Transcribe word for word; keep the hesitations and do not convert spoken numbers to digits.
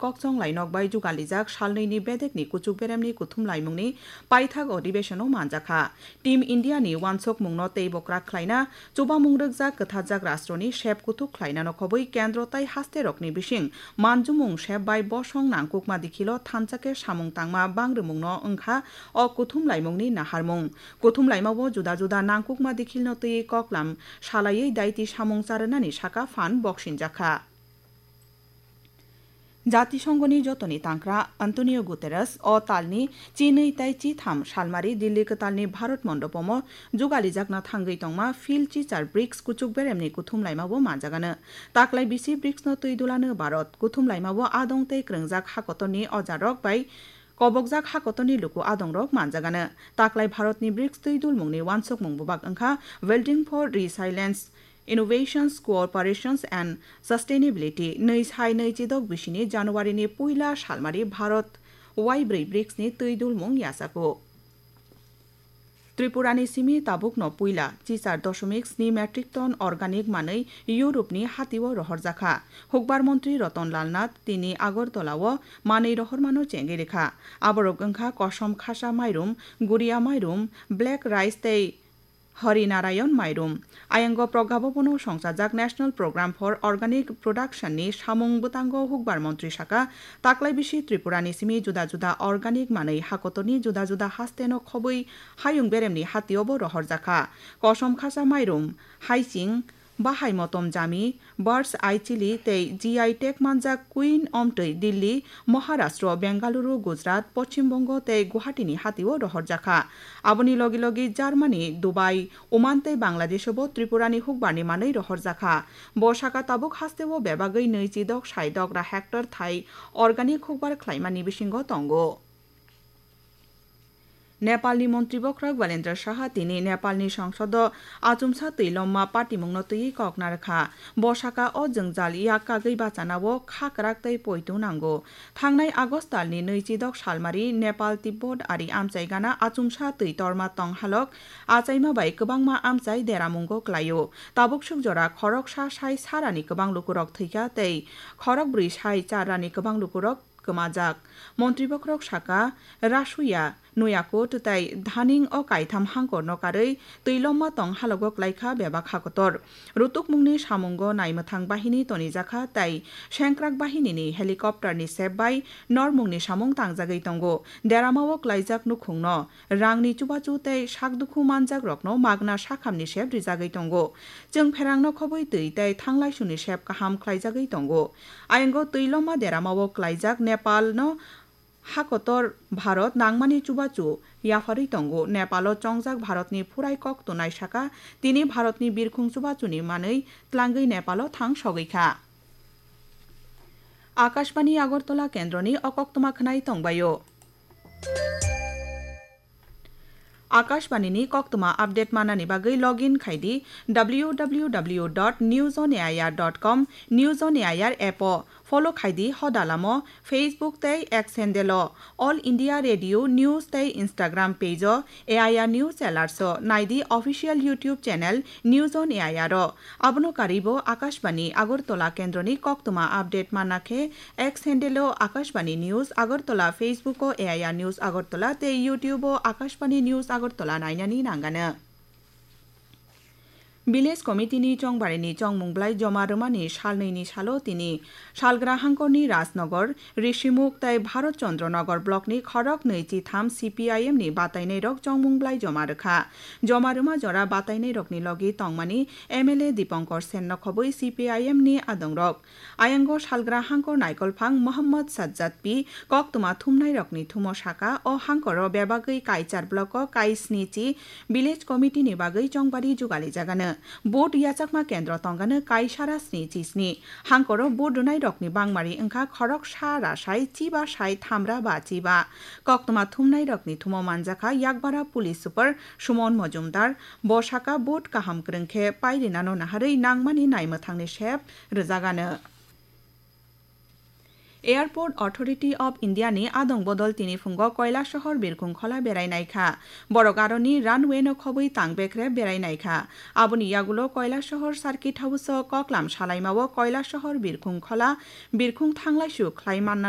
kokchong lainok bai jugalijak salnwi ni bedek ni kuchuk berem ni kuthum laimung ni paithak odibeshon o manjakha. Team India ni uansukmung no teibo kwrak khlaina, chubamung rwkjak kwthajak rastro ni sep kuthuk khlaina no khobwi kendro tai haste rok ni bising manjumung sep bai bosong nangkukma dikhilo thansa khe samung tangma bangrwmung no wngkha o kuthum laimung ni naharmung. Kuthum laima o juda juda nangkukma dikhil no twiwi koklam salaiwi daiti samung charwnani saka phan boksinjakha. Jatisongoni jotoni tangkra Antonio Guterres o talni chinwi tai chitham salmari Dilli kwtalni Bharat Mondopomo jugalijakna thangwi tongma Phil Chichar brics kuchuk beremni kuthum laimao manjagano. Taklai bisi bricsno twi dulano Bharat. Kuthum laimao adong tei kwrwngjak hakotorni ojarok bai kobokjak hakotorni luku adongrok manjagano. Taklai Bharatni brics twi dulmungni uansukmung bubak wngkha Building for Resilience, Innovations, Cooperations and Sustainability. Nwi sai nwi chidok bisini January ni puila salmari Bharat waibrwi bricsni twi dulmung yachago. Tripurani simi tabukno puila chichar dosomik sni metric ton organic manwi Europe ni hatio rohorjakha. Hukbar montri Ratan Lal Nath tini Agartala o manwi rohormano chengwi rikha. Aborok wngkha kosom khasa mairum, guria mairum, black rice tei Hari Narayan mairum. Ayango Pragya Bhavan o songchajak National Program for Organic Production ni samung bwtango hukbar montri saka, taklai bisi Tripura ni simi juda juda organic manwi hakotorni juda juda haste no khobwi hayung beremni hatio bo rohorjakha. Kosom khasa mairum, haiching, bahai motom jami, Birds Eye Chili tei G I tag manjak Queen Omtwi Delhi, Maharashtra, Bengaluru, Gujarat, Poschim Bongo tei Guwahati ni hatio rohorjakha. Aboni logi logi Germany, Dubai, Oman tei Bangladesh o bo Tripura ni hukbar ni manwi rohorjakha. Bo saka tabuk haste o bebagwi nwi chidok sai dogra hectare thai organic hukbar khlaimani bisingo tongo. Nepalni Montri Bokhorok Balendra Saha tini Nepalni Songsodo achumsa twi lomma patimungno twiwi kok narwkha. Bo saka o jwngjal yak kagwi bachanao kha kwrak tei poito nango. Thangnai August talni nwi chidok salmari Nepal Tibbot ari amchai gana achumsa twi torma tong halok achaima bai kwbangma amchai deramungo klaio. Tabuk suk jora khoroksa sai sarani kwbang lukurok thwikha tei khorokbrwi sai charani kwbang lukurok kwmajak. Montri Bokhorok saka, Rasuya, Nuyakot tei Dhaning o kaitham hangkorno karwi twi lomma tong halogo klaikha bebak hakotor. Rutukmungni samungo naimwthang bahini tonijakha tei sengkrak bahinini helicopter ni sep bai normungni samung tangjagwi tongo. Deramao klaijak nukhungno rangni chubachu tei sakdukhu manjakrokno magna sakhamni sep rijagwi tongo. Chwng pherangno khobwi twi tei thanglaisuni sep kaham khlaijagwi tongo. Ayango twi lomma deramao klaijak Nepalno hakotor Bharat nangmani chubachu yapharwi tongo. Nepalo chongjak Bharatni phurai kok tunai saka tini Bharatni birkhung chubachuni manwi tlangwi Nepalo thang sogwi kha. Akashbani Agartala kendroni o koktwma khwnai tongbaio. Akashbani ni koktwma update manani bagwi login khai di W W W dot news on A I R dot com, News on A I R app o, follow khai di hoda lamo, Facebook tei X handle o, All India Radio News tei Instagram page o, A I R News Alerts o, nai di official YouTube channel News on A I R o. Abono karwi bo Akashbani Agartala kendroni koktwma update manna khe X handle o Akashbani News Agartala, Facebook o A I R News Agartala tei YouTube o Akashbani News Agartala nainani nangano. Village Committee ni chongbarini chongmung blai joma rwmani salnwi ni salo tini Salgra hangkorni Rajnagar, Rishimukh tei Bharat Chandra Nagar block ni khorok nwi chi tham C P I M ni batainai rok chongmung blai joma rwkha. Joma rwma jora batainai rokni logi tongmani M L A Dipankar Sen no khobwi C P I M ni adongrok. Ayango Salgra hangkor naikolphang Mohammad Sajjad P koktwma thumnairokni thumo saka, o hangkoro bebagwi Kaichar block o kai sni chi village committee ni bagwi chongbari jugalijagano. Vote yachakma kendro tongano kai sara sni chi sni. Hangkoro vote rwnairokni bangmari wngkha khorok sa ra sai chiba sai thamra ba chiba. Koktwma thumnairokni thumo manjakha Yakbara Police Super Sumon Mojumdar. Bo saka vote kaham kwrwng khe pairinano naharwi nangmani naimwthangni sep rwjagano. Airport Authority of India ni adong bodol tini phungo Kailasahar Birkhung khola berai naikha. Borok aroni runway no khobwi tang bekrep berai naikha. Aboni yagulo Kailasahar Circuit House o koklam salaima o Kailasahar Birkhung khola birkhung thanglaisu khlai manna